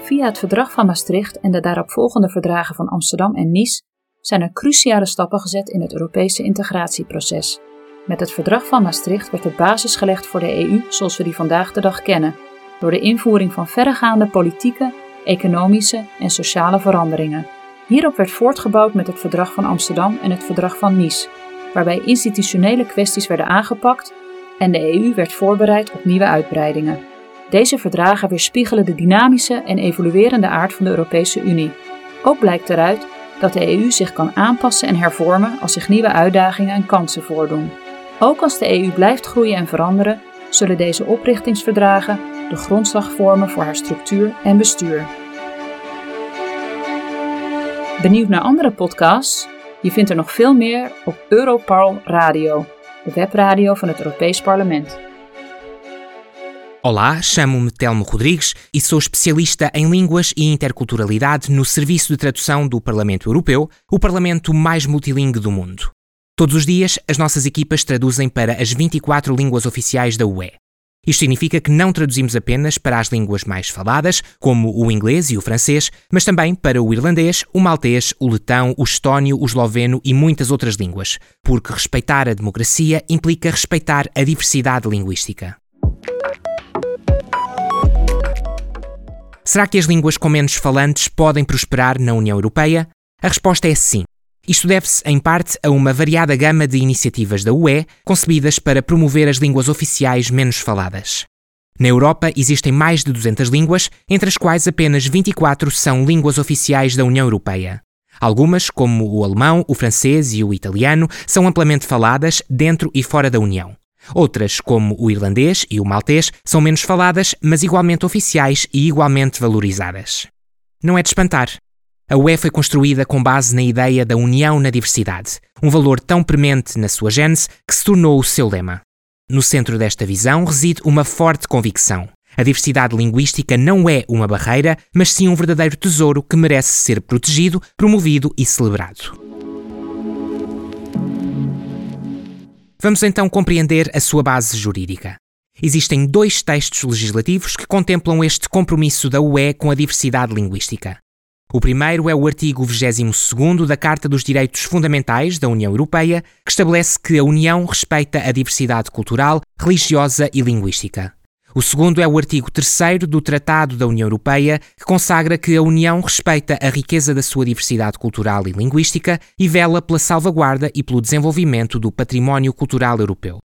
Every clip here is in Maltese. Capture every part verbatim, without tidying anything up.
Via het Verdrag van Maastricht en de daaropvolgende verdragen van Amsterdam en Nice zijn er cruciale stappen gezet in het Europese integratieproces. Met het Verdrag van Maastricht werd de basis gelegd voor de E U zoals we die vandaag de dag kennen, door de invoering van verregaande politieke, economische en sociale veranderingen. Hierop werd voortgebouwd met het Verdrag van Amsterdam en het Verdrag van Nice, waarbij institutionele kwesties werden aangepakt en de E U werd voorbereid op nieuwe uitbreidingen. Deze verdragen weerspiegelen de dynamische en evoluerende aard van de Europese Unie. Ook blijkt eruit dat de E U zich kan aanpassen en hervormen als zich nieuwe uitdagingen en kansen voordoen. Ook als de E U blijft groeien en veranderen, zullen deze oprichtingsverdragen de grondslag vormen voor haar structuur en bestuur. Benieuwd naar andere podcasts? Je vindt er nog veel meer op Europarl Radio, de webradio van het Europees Parlement. Olá, chamo-me Telmo Rodrigues e sou especialista em línguas e interculturalidade no Serviço de Tradução do Parlamento Europeu, o parlamento mais multilingue do mundo. Todos os dias, as nossas equipas traduzem para as vinte e quatro línguas oficiais da U E. Isto significa que não traduzimos apenas para as línguas mais faladas, como o inglês e o francês, mas também para o irlandês, o maltês, o letão, o estónio, o esloveno e muitas outras línguas, porque respeitar a democracia implica respeitar a diversidade linguística. Será que as línguas com menos falantes podem prosperar na União Europeia? A resposta é sim. Isto deve-se, em parte, a uma variada gama de iniciativas da U E concebidas para promover as línguas oficiais menos faladas. Na Europa existem mais de duzentas línguas, entre as quais apenas vinte e quatro são línguas oficiais da União Europeia. Algumas, como o alemão, o francês e o italiano, são amplamente faladas dentro e fora da União. Outras, como o irlandês e o maltês, são menos faladas, mas igualmente oficiais e igualmente valorizadas. Não é de espantar. A U E foi construída com base na ideia da união na diversidade, um valor tão premente na sua gênese que se tornou o seu lema. No centro desta visão reside uma forte convicção. A diversidade linguística não é uma barreira, mas sim um verdadeiro tesouro que merece ser protegido, promovido e celebrado. Vamos então compreender a sua base jurídica. Existem dois textos legislativos que contemplam este compromisso da U E com a diversidade linguística. O primeiro é o artigo vigésimo segundo da Carta dos Direitos Fundamentais da União Europeia, que estabelece que a União respeita a diversidade cultural, religiosa e linguística. O segundo é o artigo terceiro do Tratado da União Europeia, que consagra que a União respeita a riqueza da sua diversidade cultural e linguística e vela pela salvaguarda e pelo desenvolvimento do património cultural europeu.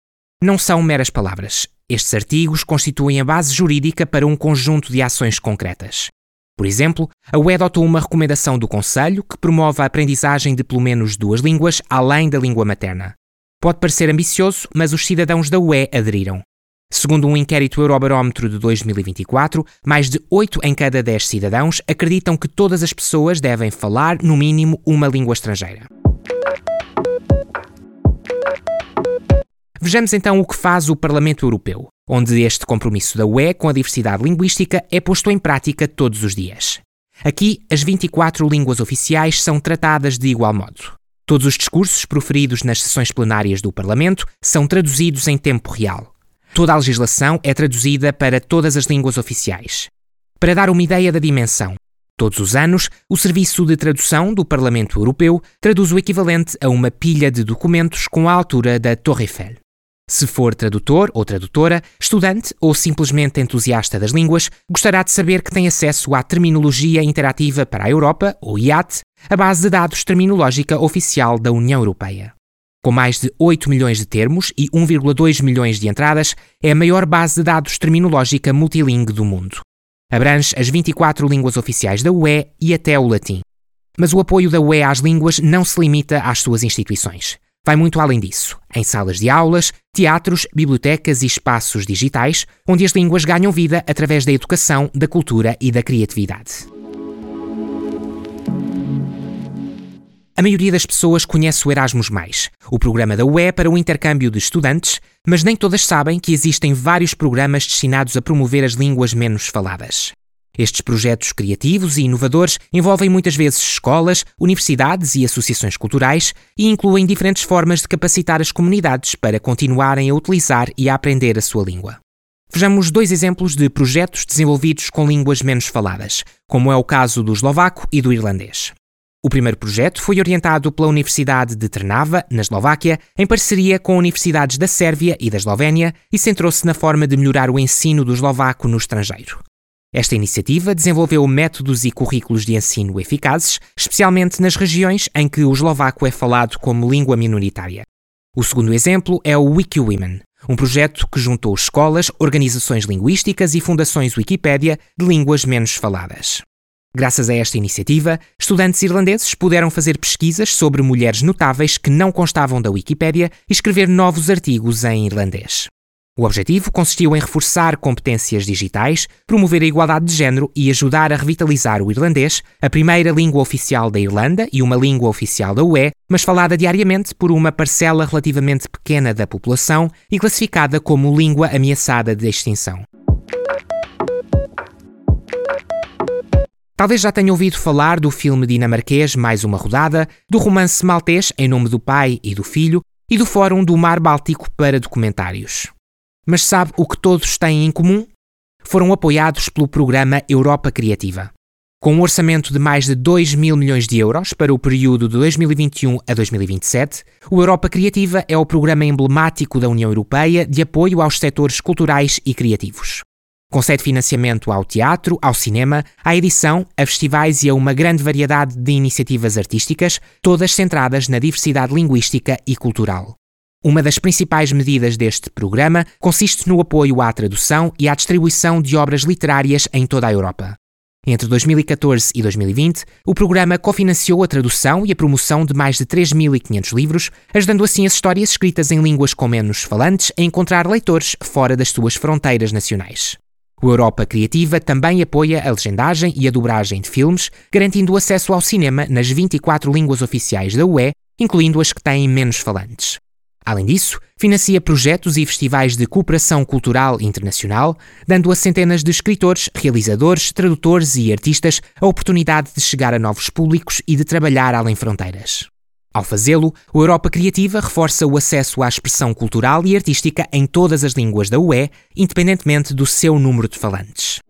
Não são meras palavras. Estes artigos constituem a base jurídica para um conjunto de ações concretas. Por exemplo, a U E adotou uma recomendação do Conselho que promove a aprendizagem de pelo menos duas línguas além da língua materna. Pode parecer ambicioso, mas os cidadãos da U E aderiram. Segundo um inquérito Eurobarómetro de dois mil e vinte e quatro, mais de oito em cada dez cidadãos acreditam que todas as pessoas devem falar, no mínimo, uma língua estrangeira. Vejamos então o que faz o Parlamento Europeu, onde este compromisso da U E com a diversidade linguística é posto em prática todos os dias. Aqui, as vinte e quatro línguas oficiais são tratadas de igual modo. Todos os discursos proferidos nas sessões plenárias do Parlamento são traduzidos em tempo real. Toda a legislação é traduzida para todas as línguas oficiais. Para dar uma ideia da dimensão, todos os anos, o Serviço de Tradução do Parlamento Europeu traduz o equivalente a uma pilha de documentos com a altura da Torre Eiffel. Se for tradutor ou tradutora, estudante ou simplesmente entusiasta das línguas, gostará de saber que tem acesso à Terminologia Interativa para a Europa, ou I A T, a base de dados terminológica oficial da União Europeia. Com mais de oito milhões de termos e um vírgula dois milhões de entradas, é a maior base de dados terminológica multilingue do mundo. Abrange as vinte e quatro línguas oficiais da U E e até o latim. Mas o apoio da U E às línguas não se limita às suas instituições. Vai muito além disso, em salas de aulas, teatros, bibliotecas e espaços digitais, onde as línguas ganham vida através da educação, da cultura e da criatividade. A maioria das pessoas conhece o Erasmus mais, o programa da U E para o intercâmbio de estudantes, mas nem todas sabem que existem vários programas destinados a promover as línguas menos faladas. Estes projetos criativos e inovadores envolvem muitas vezes escolas, universidades e associações culturais e incluem diferentes formas de capacitar as comunidades para continuarem a utilizar e a aprender a sua língua. Vejamos dois exemplos de projetos desenvolvidos com línguas menos faladas, como é o caso do eslovaco e do irlandês. O primeiro projeto foi orientado pela Universidade de Trnava, na Eslováquia, em parceria com universidades da Sérvia e da Eslovénia, e centrou-se na forma de melhorar o ensino do eslovaco no estrangeiro. Esta iniciativa desenvolveu métodos e currículos de ensino eficazes, especialmente nas regiões em que o eslovaco é falado como língua minoritária. O segundo exemplo é o WikiWomen, um projeto que juntou escolas, organizações linguísticas e fundações Wikipédia de línguas menos faladas. Graças a esta iniciativa, estudantes irlandeses puderam fazer pesquisas sobre mulheres notáveis que não constavam da Wikipédia e escrever novos artigos em irlandês. O objetivo consistiu em reforçar competências digitais, promover a igualdade de género e ajudar a revitalizar o irlandês, a primeira língua oficial da Irlanda e uma língua oficial da U E, mas falada diariamente por uma parcela relativamente pequena da população e classificada como língua ameaçada de extinção. Talvez já tenha ouvido falar do filme dinamarquês Mais Uma Rodada, do romance maltês Em Nome do Pai e do Filho e do Fórum do Mar Báltico para Documentários. Mas sabe o que todos têm em comum? Foram apoiados pelo programa Europa Criativa. Com um orçamento de mais de dois mil milhões de euros para o período de dois mil e vinte e um a dois mil e vinte e sete, o Europa Criativa é o programa emblemático da União Europeia de apoio aos setores culturais e criativos. Concede financiamento ao teatro, ao cinema, à edição, a festivais e a uma grande variedade de iniciativas artísticas, todas centradas na diversidade linguística e cultural. Uma das principais medidas deste programa consiste no apoio à tradução e à distribuição de obras literárias em toda a Europa. Entre dois mil e catorze e dois mil e vinte, o programa cofinanciou a tradução e a promoção de mais de três mil e quinhentos livros, ajudando assim as histórias escritas em línguas com menos falantes a encontrar leitores fora das suas fronteiras nacionais. O Europa Criativa também apoia a legendagem e a dobragem de filmes, garantindo o acesso ao cinema nas vinte e quatro línguas oficiais da U E, incluindo as que têm menos falantes. Além disso, financia projetos e festivais de cooperação cultural internacional, dando a centenas de escritores, realizadores, tradutores e artistas a oportunidade de chegar a novos públicos e de trabalhar além fronteiras. Ao fazê-lo, o Europa Criativa reforça o acesso à expressão cultural e artística em todas as línguas da U E, independentemente do seu número de falantes.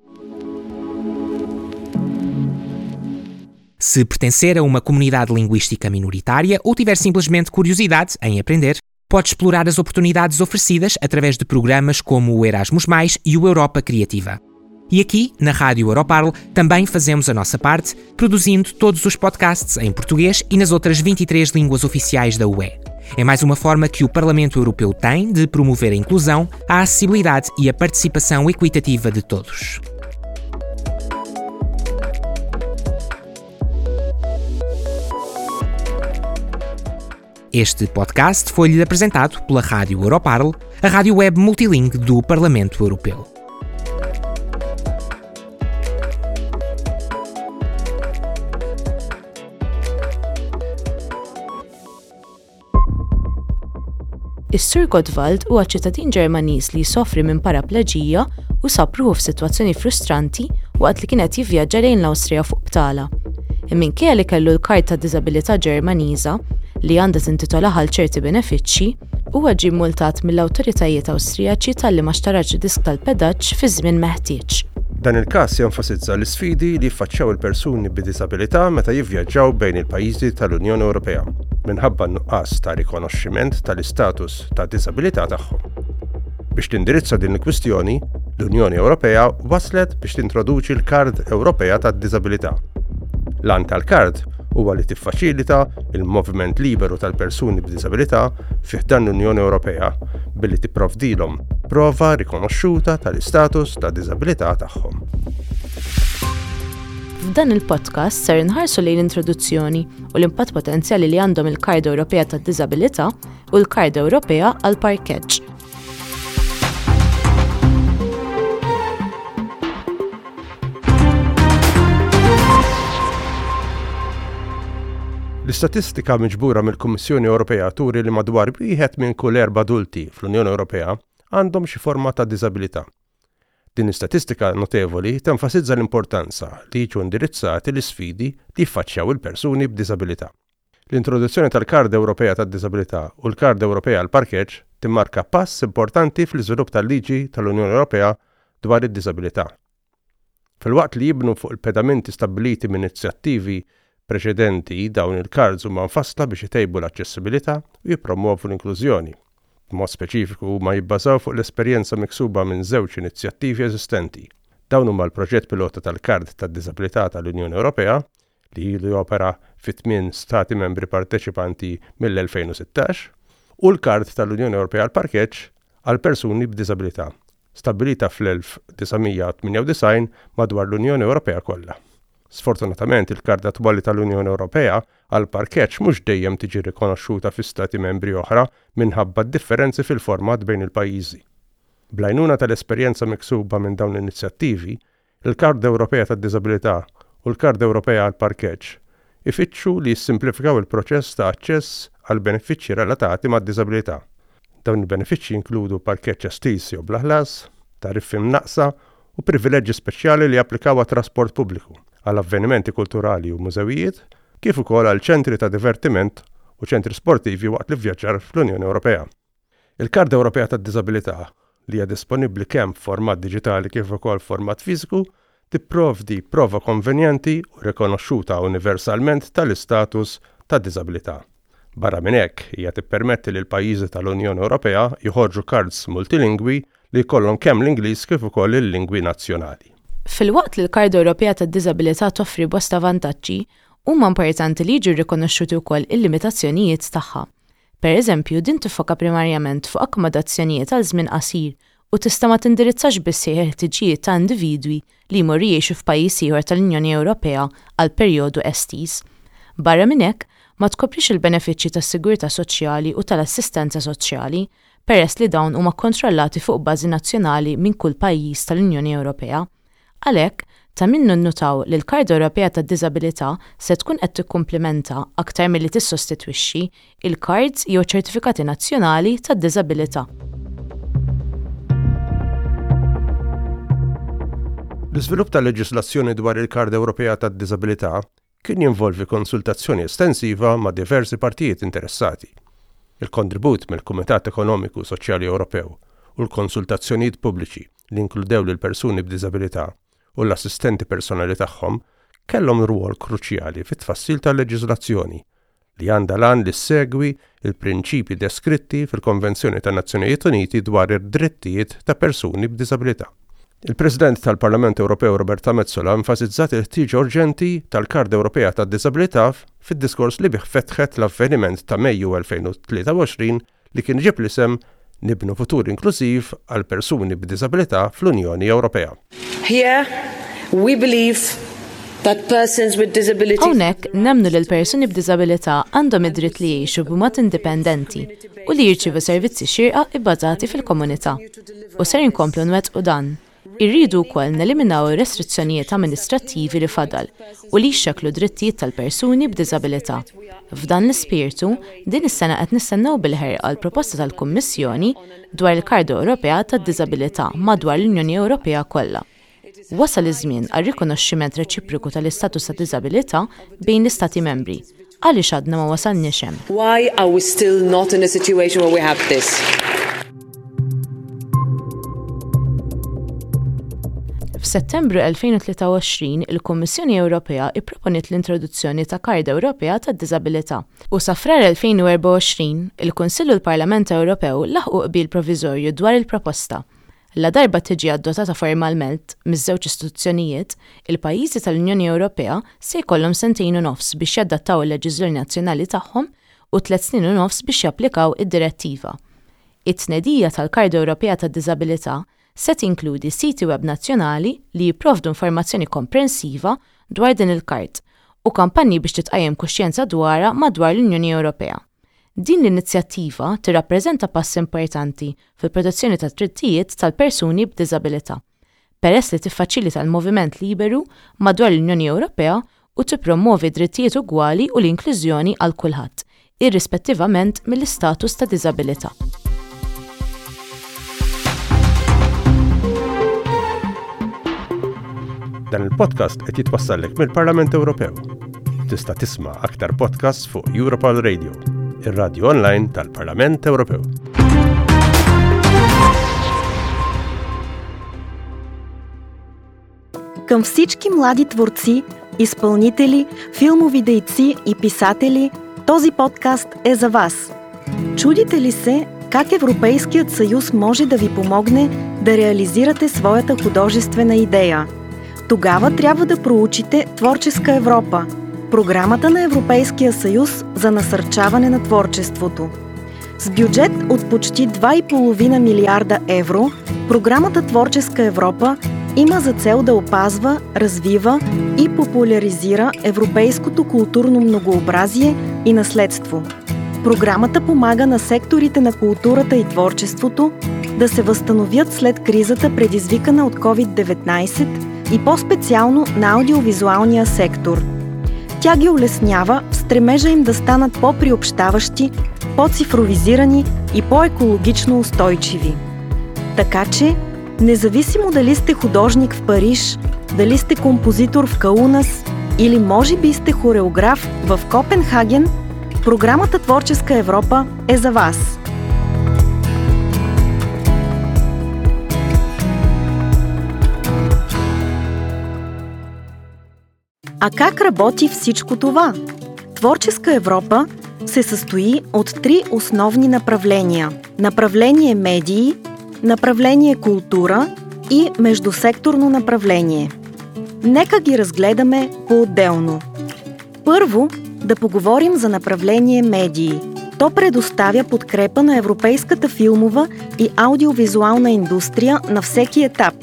Se pertencer a uma comunidade linguística minoritária ou tiver simplesmente curiosidade em aprender, pode explorar as oportunidades oferecidas através de programas como o Erasmus mais e o Europa Criativa. E aqui, na Rádio Europarl, também fazemos a nossa parte, produzindo todos os podcasts em português e nas outras vinte e três línguas oficiais da U E. É mais uma forma que o Parlamento Europeu tem de promover a inclusão, a acessibilidade e a participação equitativa de todos. Este podcast foi-lhe apresentado pela Rádio Europarl, a rádio web multilingue do Parlamento Europeu. Is-Sur Gottwald huwa ċittadin Ġermaniż li jsofri minn parapleġija u sab ruħu f'sitwazzjoni frustranti waqt li kien qed jivvjaġġa lejn l-Awstrija fuq btala. Minkejja li kellu l-karta ta' diżabilità Ġermaniża li għandha tintitola għal ċerti benefiċċji, huwa ġie multat mill-awtoritajiet Awstrijaċi talli ma xtarax disk tal-pedaġġ fi żmien meħtieġ. Dan il-każ jenfasizza l-isfidi li jiffaċċjaw il-persuni b'diżabilità meta jivvjaġġaw bejn il-pajjiżi tal-Unjoni Ewropea minħabba n-nuqqas ta' rikonoxximent tal-istatus ta' diżabilità tagħhom. Biex tindirizza din il-kwistjoni, l-Unjoni Ewropea waslet biex tintroduċi l-Kard Ewropea tad-Diżabilità. L-għan tal-kard huwa li tiffaċilita il-moviment liberu tal-persuni b'diżabilità fi ħdan l-Unjoni Ewropea billi tipprovdilhom prova rikonoxxuta tal-istatus ta' diżabilità tagħhom. F'dan il-podcast ser inħarsu lejn l-introduzzjoni u l-impatt potenzjali li għandhom il-Kard Ewropea tad-Diżabilità u l-Kard Ewropea għall-Parkeġġ. L-istatistika miġbura mill-Kummissjoni Ewropea turi li madwar wieħed minn kull erba' adulti fl-Unjoni Ewropea għandhom xi forma ta' diżabilità. Din l-istatistika notevoli tenfasizza l-importanza li jiġu indirizzati l-isfidi li jiffaċċjaw il-persuni b'diżabilità. L-introduzzjoni tal-Kard Ewropea tad-Diżabilità u l-Kard Ewropea għall-Parkeġġ timmarka pass importanti fl-iżvilupp tal-liġi tal-Unjoni Ewropea dwar id-diżabilità. Filwaqt li jibnu fuq il-pedamenti stabbiliti minn inizjattivi preċedenti, dawn il-cards huma mfassla biex itejbu l-aċċessibilità u jippromuovu l-inklużjoni. B'mod speċifiku huma jibbażaw fuq l-esperjenza miksuba minn żewġ inizjattivi eżistenti. Dawn huma l-proġett pilota tal-Kard tad-Diżabilità tal-Unjoni Ewropea li ilu jopera fi tmien stati membri parteċipanti mill-elfejn u sittax u l-Kard tal-Unjoni Ewropea għall-Parkeġġ għal persuni b'diżabilità, stabbilita fl-elf disa' mija tmienja u disgħin madwar l-Unjoni Ewropea kollha. Sfortunatament, il-Kard attwali tal-Unjoni Ewropea għall-parkeġġ mhux dejjem tiġi rikonoxxuta fi stati membri oħra minħabba d-differenzi fil-format bejn il-pajjiżi. Bl-għajnuna tal-esperjenza miksuba minn dawn l-inizjattivi, il-Kard Ewropea tad-Diżabilità u l-Kard Ewropea għall-Parkeġġ ifittxu li jissimplifikaw il-proċess ta' aċċess għal benefiċċji relatati mad-diżabilità. Dawn il-benefiċċji jinkludu parkeġġ estiż jew bla ħlas, tariffi mnaqqsa u privileġġi speċjali li japplikaw għat-trasport pubbliku, għal avvenimenti kulturali u mużewijiet, kif ukoll għal ċentri ta' divertiment u ċentri sportivi waqt l-ivvjaġġar fl-Unjoni Ewropea. Il-Kard Ewropea tad-Diżabilità, li hija disponibbli kemm f'format diġitali kif ukoll f'format fiżiku, tipprovdi prova konvenjenti u rikonoxxuta universalment tal-istatus ta' diżabilità. Barra minn hekk, hija tippermetti lil pajjiżi tal-Unjoni Ewropea joħorġu cards multilingwi li jkollhom kemm l-Ingliż kif ukoll il-lingwi nazzjonali. Filwaqt li l-Kard Ewropea tad-Diżabilità toffri bosta vantaġġi, huma importanti li jiġu rikonoxxuti wkoll il-limitazzjonijiet tagħha. Per eżempju, din tiffoka primarjament fuq akkomodazzjonijiet għal żmien qasir u tista' ma tindirizzax biss il-ħtiġijiet ta' individwi li jmorru jgħixu f'pajjiż ieħor tal-Unjoni Ewropea għal perjodu estiż. Barra minn hekk, ma tkoprix il-benefiċċji tas-sigurtà soċjali u tal-assistenza soċjali, peress li dawn huma kkontrollati fuq bażi nazzjonali minn kull pajjiż tal-Unjoni Ewropea. Għalhekk, ta' min ninnutaw li l-Kard Ewropea tad-Diżabilità se tkun qed tikkumplementa aktar milli tissostitwixxi il-cards jew ċertifikati nazzjonali tad-diżabilità. L-iżvilupp tal-leġislazzjoni dwar il-Kard Ewropea tad-Diżabilità kien jinvolvi konsultazzjoni estensiva ma' diversi partijiet interessati. Il-kontribut mill-Kumitat Ekonomiku Soċjali Ewropew u l-konsultazzjonijiet pubbliċi li inkludew lil persuni b'diżabilità u l-assistenti personali tagħhom kellhom rwol kruċjali fit-tfassil tal-leġiżlazzjoni li għandha l-għan li ssegwi il-prinċipji deskritti fil-Konvenzjoni tan-Nazzjonijiet Uniti dwar id-drittijiet ta' persuni b'diżabilità. Il-President tal-Parlament Ewropew Roberta Metsola enfasizzat il-ħtieġa urġenti tal-Kard Ewropea tad-Diżabilità fid-diskors li bih fetħet l-avveniment ta' Mejju elfejn u tlieta u għoxrin li kien ġib l-isem Nibnu Futur Inklużiv għal Persuni b'Diżabilità fl-Unjoni Ewropea. Here we believe that persons with disabilities Hawnhekk nemmnu li l-persuni b'diżabilità għandhom id-dritt li jgħixu b'mod indipendenti u li jirċievu servizzi xierqa bbażati fil-komunità. U ser inkomplu nwettqu dan. Irridu wkoll neliminaw ir-restrizzjonijiet amministrattivi li fadal u li jxekklu drittijiet tal-persuni b'diżabilità. F'dan l-ispirtu, din is-sena qed nistennew bil-ħerqa l-proposta tal-Kummissjoni dwar il-Karta Ewropea tad-Diżabilità madwar l-Unjoni Ewropea kollha. Wasal iż-żmien għal rikonoxximent reċiproku tal-istatus ta' diżabilità bejn l-Istati membri. Għaliex għadna ma wasalniex hemm? Why are we still not in a situation where we have this? F'Settembru elfejn u tlieta u għoxrin, il-Kummissjoni Ewropea ipproponiet l-introduzzjoni ta' Karta Ewropea tad-Diżabilità. U sa frar elfejn u erbgħa u għoxrin, il-Kunsill u l-Parlament Ewropew laħqu qbil proviżorju dwar il-proposta. La darba tiġi adottata formalment miż-żewġ istituzzjonijiet, il-pajjiżi tal-Unjoni Ewropea se jkollhom sentejn u nofs biex jadattaw il-leġiżlazzjoni nazzjonali tagħhom u tliet snin u nofs biex japplikaw id-direttiva. It-tnedija tal-Karta Ewropea tad-Diżabilità se tinkludi siti web nazzjonali li jipprovdu informazzjoni komprensiva dwar din il-kart u kampanji biex titqajjem kuxjenza dwarha madwar l-Unjoni Ewropea. Din l-inizjattiva tirrappreżenta pass importanti fil-protezzjoni tat-drittijiet tal-persuni b'diżabilità, peress li tiffaċilita l-moviment liberu madwar l-Unjoni Ewropea u tippromovi drittijiet ugwali u l-inklużjoni għal kulħadd, irrispettivament mill-istatus ta' diżabilità. Dan il-podcast qed jitwassallek mill-Parlament Ewropew. Tista' tisma' aktar podcasts fuq Europol Radio, ir-radio online tal-Parlament Ewropew. Към всички млади творци, изпълнители, филмови дейци и писатели, този подкаст е за вас. Чудите ли се как Европейският съюз може да ви помогне да реализирате своята художествена идея? Тогава трябва да проучите Творческа Европа, програмата на Европейския съюз за насърчаване на творчеството. С бюджет от почти два и половина милиарда евро, програмата Творческа Европа има за цел да опазва, развива и популяризира европейското културно многообразие и наследство. Програмата помага на секторите на културата и творчеството да се възстановят след кризата, предизвикана от ковид деветнайсет и по-специално на аудиовизуалния сектор. Тя ги улеснява в стремежа им да станат по-приобщаващи, по-цифровизирани и по-екологично устойчиви. Така че, независимо дали сте художник в Париж, дали сте композитор в Каунас или може би сте хореограф в Копенхаген, програмата Творческа Европа е за вас. А как работи всичко това? Творческа Европа се състои от три основни направления. Направление медии, направление култура и междусекторно направление. Нека ги разгледаме по-отделно. Първо, да поговорим за направление медии. То предоставя подкрепа на европейската филмова и аудиовизуална индустрия на всеки етап.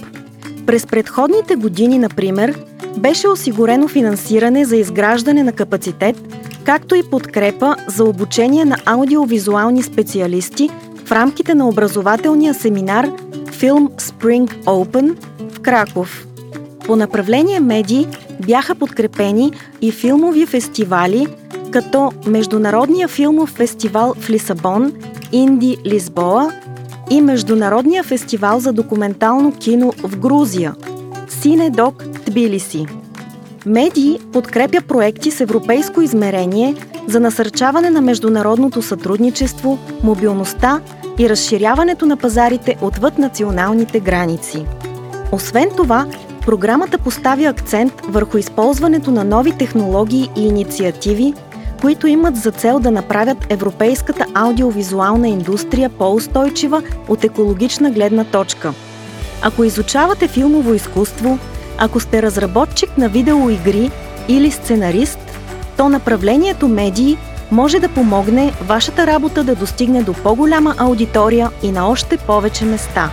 През предходните години, например, беше осигурено финансиране за изграждане на капацитет, както и подкрепа за обучение на аудиовизуални специалисти в рамките на образователния семинар Film Spring Open в Краков. По направление медии бяха подкрепени и филмови фестивали, като Международния филмов фестивал в Лисабон, Инди Лисбоа и Международния фестивал за документално кино в Грузия, Синедок Тбилиси. Медии подкрепя проекти с европейско измерение за насърчаване на международното сътрудничество, мобилността и разширяването на пазарите отвъд националните граници. Освен това, програмата поставя акцент върху използването на нови технологии и инициативи, които имат за цел да направят европейската аудиовизуална индустрия по-устойчива от екологична гледна точка. Ако изучавате филмово изкуство, ако сте разработчик на видеоигри или сценарист, то направлението медии може да помогне вашата работа да достигне до по-голяма аудитория и на още повече места.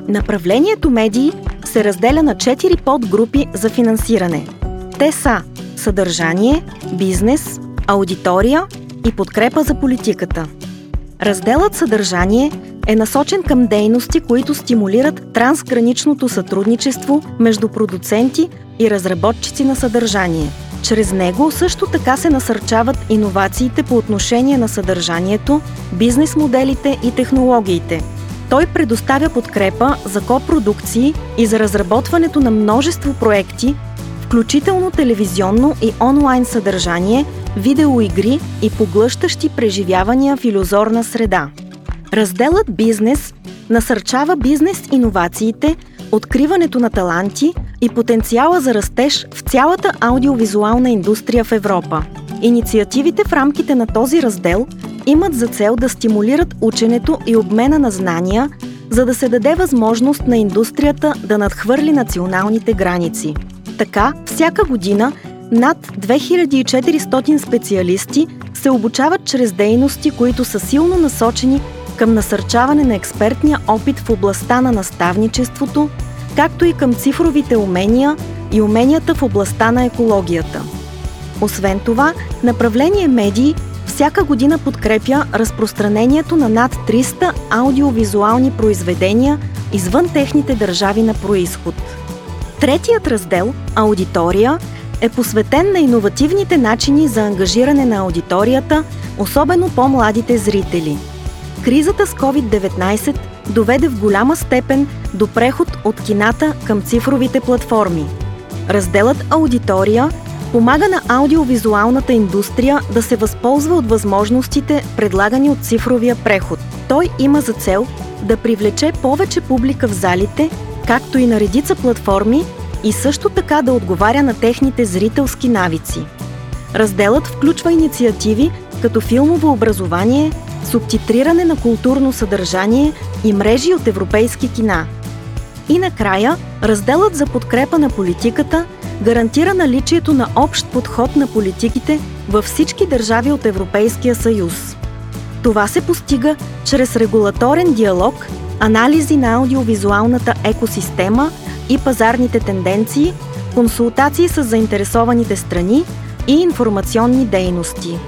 Направлението медии се разделя на четири подгрупи за финансиране. Те са съдържание, бизнес, аудитория и подкрепа за политиката. Разделът съдържание е насочен към дейности, които стимулират трансграничното сътрудничество между продуценти и разработчици на съдържание. Чрез него също така се насърчават иновациите по отношение на съдържанието, бизнес моделите и технологиите. Той предоставя подкрепа за копродукции и за разработването на множество проекти, включително телевизионно и онлайн съдържание, видеоигри и поглъщащи преживявания в илюзорна среда. Разделът «Бизнес» насърчава бизнес иновациите, откриването на таланти и потенциала за растеж в цялата аудиовизуална индустрия в Европа. Инициативите в рамките на този раздел имат за цел да стимулират ученето и обмена на знания, за да се даде възможност на индустрията да надхвърли националните граници. Така, всяка година над две хиляди и четиристотин специалисти се обучават чрез дейности, които са силно насочени към насърчаване на експертния опит в областта на наставничеството, както и към цифровите умения и уменията в областта на екологията. Освен това, направление медии всяка година подкрепя разпространението на над триста аудиовизуални произведения извън техните държави на произход. Третият раздел – аудитория, е посветен на иновативните начини за ангажиране на аудиторията, особено по-младите зрители. Кризата с ковид деветнайсет доведе в голяма степен до преход от кината към цифровите платформи. Разделът «Аудитория» помага на аудиовизуалната индустрия да се възползва от възможностите, предлагани от цифровия преход. Той има за цел да привлече повече публика в залите, както и на редица платформи, и също така да отговаря на техните зрителски навици. Разделът включва инициативи като филмово образование, субтитриране на културно съдържание и мрежи от европейски кина. И накрая, разделът за подкрепа на политиката гарантира наличието на общ подход на политиките във всички държави от Европейския съюз. Това се постига чрез регулаторен диалог, анализи на аудиовизуалната екосистема и пазарните тенденции, консултации с заинтересованите страни и информационни дейности.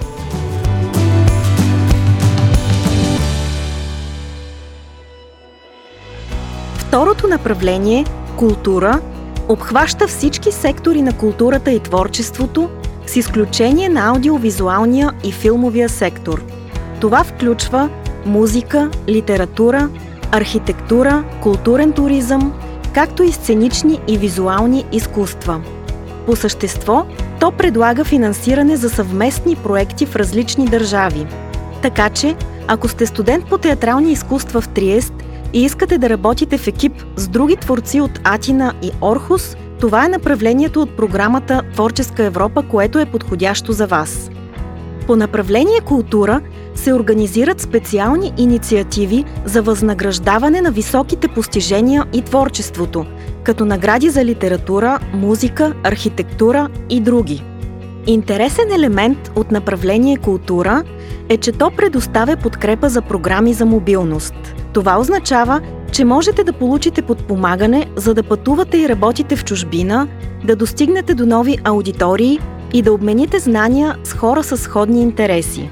Второто направление – култура, обхваща всички сектори на културата и творчеството, с изключение на аудиовизуалния и филмовия сектор. Това включва музика, литература, архитектура, културен туризъм, както и сценични и визуални изкуства. По същество, то предлага финансиране за съвместни проекти в различни държави. Така че, ако сте студент по театрални изкуства в Триест и искате да работите в екип с други творци от Атина и Орхус, това е направлението от програмата Творческа Европа, което е подходящо за вас. По направление култура се организират специални инициативи за възнаграждаване на високите постижения и творчеството, като награди за литература, музика, архитектура и други. Интересен елемент от направление култура е, че то предоставя подкрепа за програми за мобилност. Това означава, че можете да получите подпомагане, за да пътувате и работите в чужбина, да достигнете до нови аудитории и да обмените знания с хора със сходни интереси.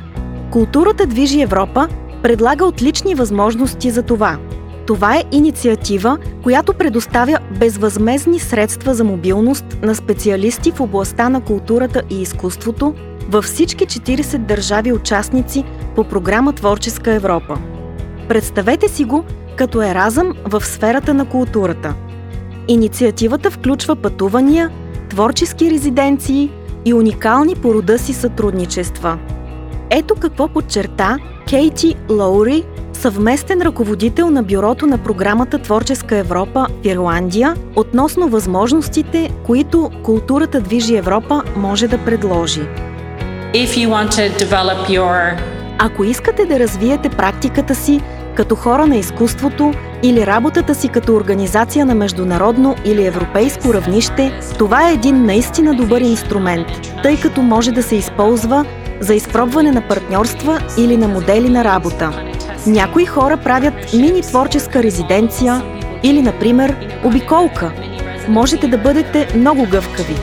Културата движи Европа предлага отлични възможности за това. Това е инициатива, която предоставя безвъзмездни средства за мобилност на специалисти в областта на културата и изкуството във всички четиридесет държави участници по програма Творческа Европа. Представете си го като еразъм в сферата на културата. Инициативата включва пътувания, творчески резиденции и уникални по рода си сътрудничества. Ето какво подчерта Кейти Лоури, съвместен ръководител на бюрото на програмата Творческа Европа в Ирландия, относно възможностите, които Културата движи Европа може да предложи. If you want to develop your... Ако искате да развиете практиката си като хора на изкуството или работата си като организация на международно или европейско равнище, това е един наистина добър инструмент, тъй като може да се използва за изпробване на партньорства или на модели на работа. Някои хора правят мини-творческа резиденция или, например, обиколка. Можете да бъдете много гъвкави.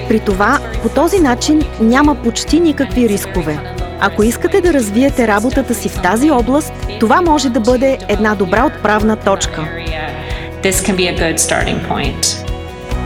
При това, по този начин няма почти никакви рискове. Ако искате да развиете работата си в тази област, това може да бъде една добра отправна точка. This can be a good starting point.